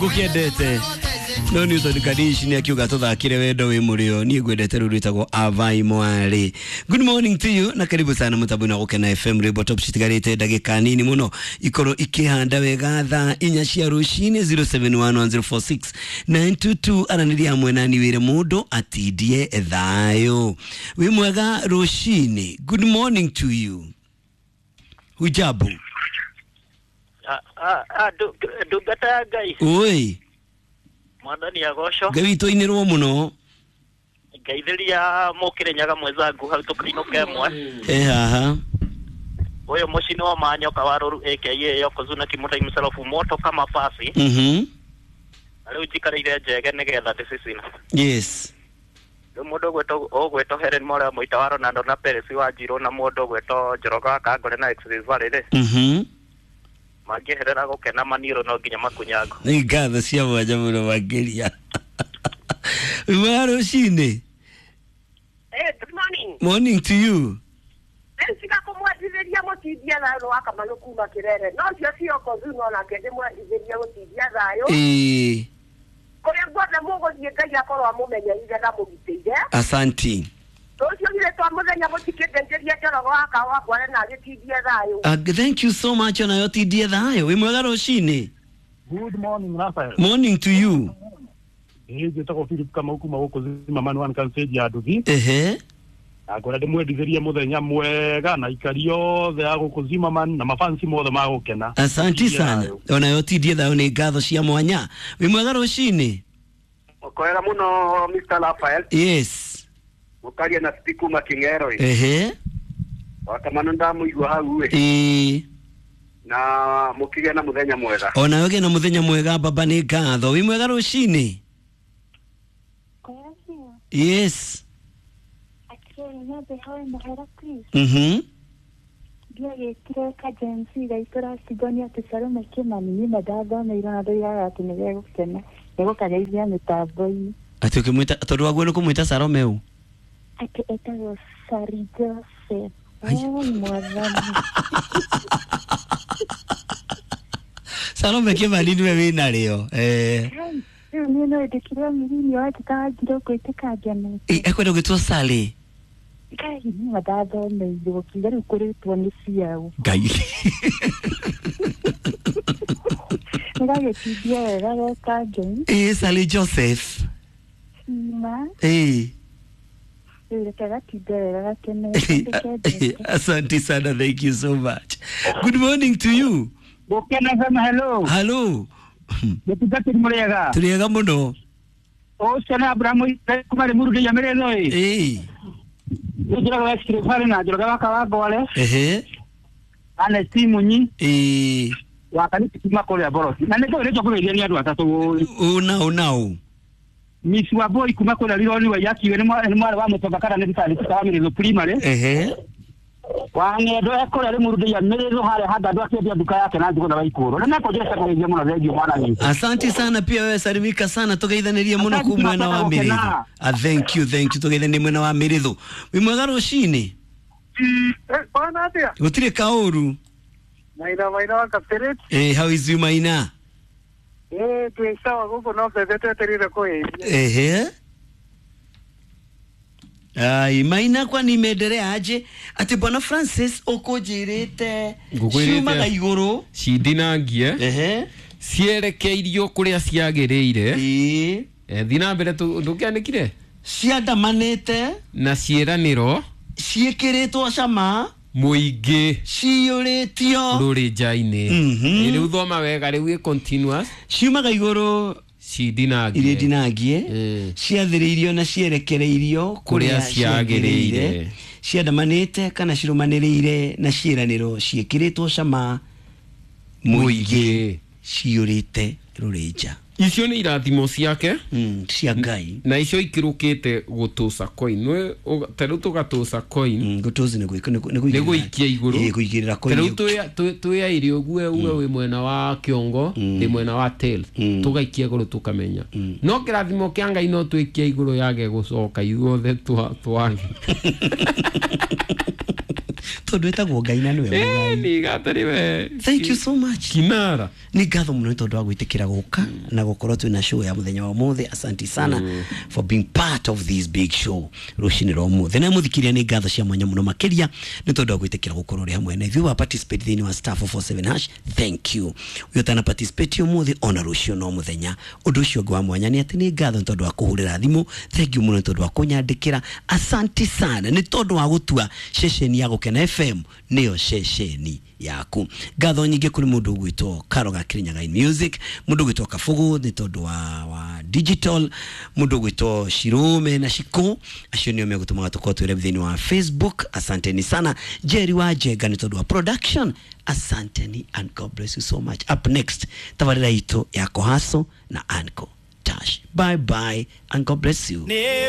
Ngukiendete no Newton Kadish ni akiuga tuthakire wendo wi murio nie ngwendete ruru rwitagwo Avai Mwari. Good morning to you na karibu sana mutambo-inĩ wa Gukena FM. Rwimbo top citigarite ndagika nini muno ikorwo ikihanda wega thaa inya cia rucini. 0711046922 aranĩria hamwe nani wire mundu atindie thayo. Wi mwega rucini, good morning to you. Hujambo? Ndungata ya Ngai. Oi. Mwathani agocwo. Ngai witũ inĩrwo mũno. Ngeithĩria mũkĩrĩnyaga mwenzangu hau tũkainũka ĩmwe. E haha. Ũyũ mũcini wa manyoka wa rũru aka Yokozuna Kimutai msalofu moto kama pasi. Na rĩu njikarĩire njege nĩgetha ndĩcicina. Yes. Rĩu mũndũ ũgwĩtwo Helen Morea mũita wa Ronaldo na Perez wa Njirũ na mũndũ ũgwĩtwo Njoroge wa Kangore na Express Valley rĩ, mangĩeherera gũkena maniũrũ no nginya makunyango. Nĩ ngatho cia mwanya mũno makĩria. Wĩ rũcinĩ. Hey, good morning. Morning to you. Nĩnsiga kũmwendithĩria mũtindia thayũ wa Kamanũ kuma Kĩrere. No cio cioko zuno nake ndĩmwendithĩrie gũtindia thayũ. Ĩĩ. Kũrĩa guothe mũgũthiĩ Ngai akorwo amũmenyereire na mũgitĩire. Asanti. Rũciũ githĩ twa mũthenya mũtikĩndeithĩrie Njoroge wa Kawangware na agĩtindie thayũ. Thank you so much onayo tindie thayũ. Wĩ mwega rũcinĩ. Good morning, Raphael. Morning to you. Ĩĩ njĩtagwo Philip Kamau kuma gũkũ Zimmerman One Kansage ya Nduthi. Ehe. Na ngwenda ndĩmwendithĩrie mũthenya mwega na aikari othe a gũkũ Zimmerman na mafansi mothe ma gũkena. Asanti sana. Onayo tindie thayũ nĩ ngatho cia mwanya. Wĩ mwega rũcinĩ. Kwega muno Mr. Raphael. Yes. Mũkaria na Steve kuma King'ero. Ehe. Wakamano ndamũigua hau ĩ. Ĩĩ. Na mũkĩgĩa na mũthenya mwega. Onawe gĩa na mũthenya mwega baba nĩ ngatho. Wĩ mwega rũcinĩ. Yes. Ndiagĩtire kajensi gaitũ Sidonia atĩ Salome Kĩmani nyuma ndathomeire na ndoigaga atĩ nĩgegũkena nĩgũkageithia mĩtambo-inĩ. Atĩ ũkĩmwĩta tondũ waguo nĩ kũmwĩta Salome ũ? Atĩ etagwo Sari Joseph. Oi mwathani. Salome Kĩmani nĩwe wĩna rĩo. Eh. Rĩu niĩ no ndĩkire mĩrini wanjĩtaga njire ũkwĩtĩka ngenete. Ekwenda gwĩtwo Sally. Ngai nyuma ndathomeirwo kiuga rĩu kũrĩtwo nĩ ciao. Ngai. Nĩgagĩtindia wega geka ngemi. Ĩĩ Sally Joseph. Ima. Ĩĩ. Asante sana, thank you so much. Good morning to you. Gũkena FM, hello. Hello. Mũtungatĩri mũrĩega. Tũrĩega mũno. Ũcio nĩ Abrahamu kuma Rĩmuru ndĩia mĩrĩtho ĩ. Ĩĩ. Nĩ Njoroge wa Express Valley na Njoroge wa Kawangware. Ehe. Ernest Munyi. Ĩĩ. Wa kanitha kuma kũrĩa Borosi. Na nĩ ngũrĩtwo kũgeithia nĩ andũ atatũ. Ũna ũna. Miss Wambui kuma kũrĩa Rironi wa Yakiwe nĩ mwarĩ wa Mũtonga kana nĩ thibitarĩ wa Mĩrĩthũ primary. Ehe. Wa ng'endo ekũrĩa Rĩmuru ndĩia Mĩrĩthũ harĩa Hangandũ akĩendia nduka yake na Njũgũna wa Ikũrũ. Na nĩkũnjĩra kũgeithia mũno thengiũ mwana witũ. Asante sana pia wewe salimika sana tugeithanirie mũno ku mwena wa Mĩrĩthũ. Thank you, thank you. Tugeithanirie mwena wa Mĩrĩthũ. Wĩ mwega rũcinĩ. Bwana atĩa? Gũtirĩ kaũru. Maina Maina wa Kapteret. Eh, how is you Maina? Twĩ sawa gũkũ no mbembe twetereire kũhĩhia. Ehe. Ai, Maina kwani imeendelea aje? Ati Bwana Francis ũkũnjĩrĩte ciumaga igũrũ cindinangie. Ehe. Cierekeirio kũrĩa ciagĩrĩire. Ĩĩ. Thiĩ na mbere ndũkĩandĩkire? Ciandamanĩte na ciĩranĩro ciĩkĩrĩtwo cama mũingĩ ciyũrĩtio rũrĩnja-inĩ. Rĩu thoma wega rĩu ĩ continuous. Ciumaga igũrũ cindinangie iria ndinangie ciathĩrĩirio na cierekereirio kũrĩa ciagĩrĩire ciandamanĩte kana cirũmanĩrĩire na ciĩranĩro ciĩkĩrĩtwo cama mũingĩ ciyũrĩte rũrĩnja. Icio nĩ irathimo ciake cia Ngai na icio ikĩrũkĩte gũtũca coin. Ta rĩu tũgatũca coin. Gũtũca nĩ gũikia igũrũ. Kũigĩrĩra coin. Ta rĩu twĩ aĩrĩ ũguo uwe wĩ mwena wa kĩongo ndĩ mwena wa tail tũgaikia igũrũ tũkamenya. No kĩrathimo kĩa Ngai no twĩkie igũrũ yage gũcoka ithuothe twage. Tondũ ĩtagwo Ngai na nĩwe mũgai. Ni gatari we. Thank you so much. Kinara. Nĩ ngatho mũno nĩ tondũ wa gwĩtĩkĩra gũka na gũkorwo twĩna show ya mũthenya wa ũmũthĩ. Asante sana for being part of this big show rũcinĩ rwa ũmũthĩ. Na mũthikĩria, nĩ ngatho cia mwanya mũno makĩria nĩ tondũ wa gwĩtĩkĩra gũkorwo ũrĩ hamwe na ithuĩ wa participate thĩinĩ wa *447#. Thank you. Ũyũ ũtana participate ũmũthĩ, ona rũciũ no mũthenya. Ũndũ ũcio ũngĩ wa mwanya nĩ atĩ nĩ ngatho nĩ tondũ wa kũhũrĩra thimũ. Thank you mũno nĩ tondũ wa kũnyandĩkĩra. Asante sana nĩ tondũ wa gũtua ceceni ya Gũkena FM nĩyo ceceni yaku. Ngatho nyingĩ kũrĩ mũndũ ũgwĩtwo Karo ga Kirinyaga in Music, mũndũ ũgwĩtwo Kabugu nĩ tondũ wa digital, mũndũ ũgwĩtwo Shirũme na Shiko, acio nĩo megũtũmaga tũkorwo twĩre thĩinĩ wa Facebook. Asanteni sana. Jerry wa Njenga nĩ tondũ wa production, asanteni and God bless you so much. Up next, tabarĩra itũ ya Kohaso na Anko Tash. Bye bye and God bless you.